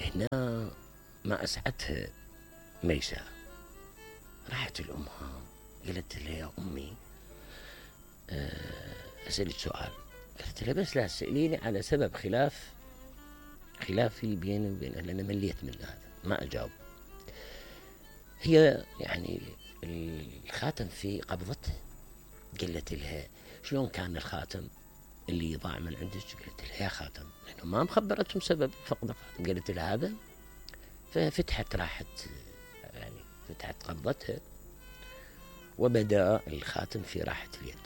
هنا ما أسعتها ميساء، راحت لأمها قالت لها يا أمي أسألك سؤال. قالت لها بس لا تسأليني على سبب خلافي بيني وبينها، لأن مليت من هذا ما أجاوب. هي يعني الخاتم في قبضتها. قالت لها شلون كان الخاتم اللي ضاع من عندك؟ قالت لها يا خاتم، لأنه ما مخبرتهم سبب فقد الخاتم. قالت لها هذا، ففتحت يعني فتحت قبضتها وبدأ الخاتم في راحة اليد.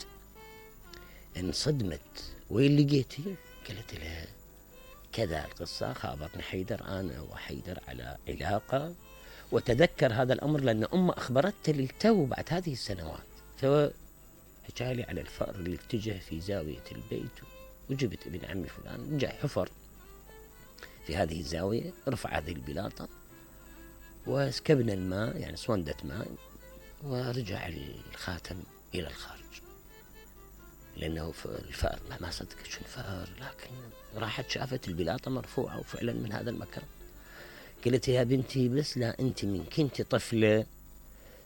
انصدمت، وين لقيتي؟ قالت لها كذا القصة، خابرني حيدر، أنا وحيدر على علاقة، وتذكر هذا الأمر لأن أمه أخبرته للتو بعد هذه السنوات. فحكالي على الفأر اللي اتجه في زاوية البيت، وجبت ابن عمي فلان جاء حفر في هذه الزاوية، رفع هذه البلاطة وسكبنا الماء، يعني صوندة ماء، ورجع الخاتم إلى الخارج. لأنه الفأر ما صدقت شو الفأر، لكن راحت شافت البلاطة مرفوعة وفعلا من هذا المكان. قلت يا بنتي بس لا أنت من كنت طفلة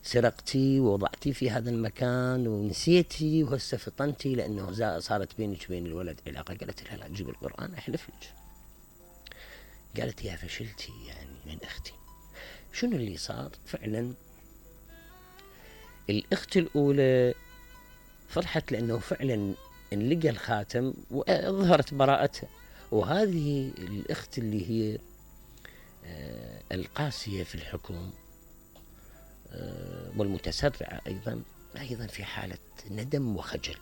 سرقتي ووضعتي في هذا المكان ونسيتي وهسه فطنتي لأنه صارت بينك وبين الولد علاقة. قالت لها لا تجيب القرآن أحلف لك. قالت يا فشلتي يعني من أختي. شنو اللي صار؟ فعلا الأخت الأولى فرحت لأنه فعلا انلقى الخاتم وظهرت براءتها، وهذه الأخت اللي هي القاسية في الحكم والمتسرعة أيضا في حالة ندم وخجل.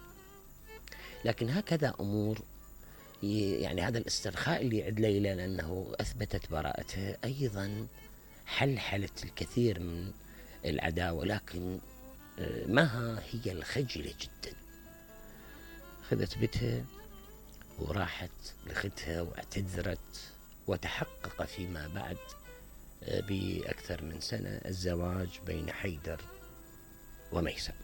لكن هكذا أمور، يعني هذا الاسترخاء اللي عند ليلى لأنه أثبتت براءتها أيضا حلحلت الكثير من العداوة، لكن مها هي الخجلة جدا. أخذت بيتها وراحت لأختها واعتذرت، وتحقق فيما بعد بأكثر من سنة الزواج بين حيدر وميساء.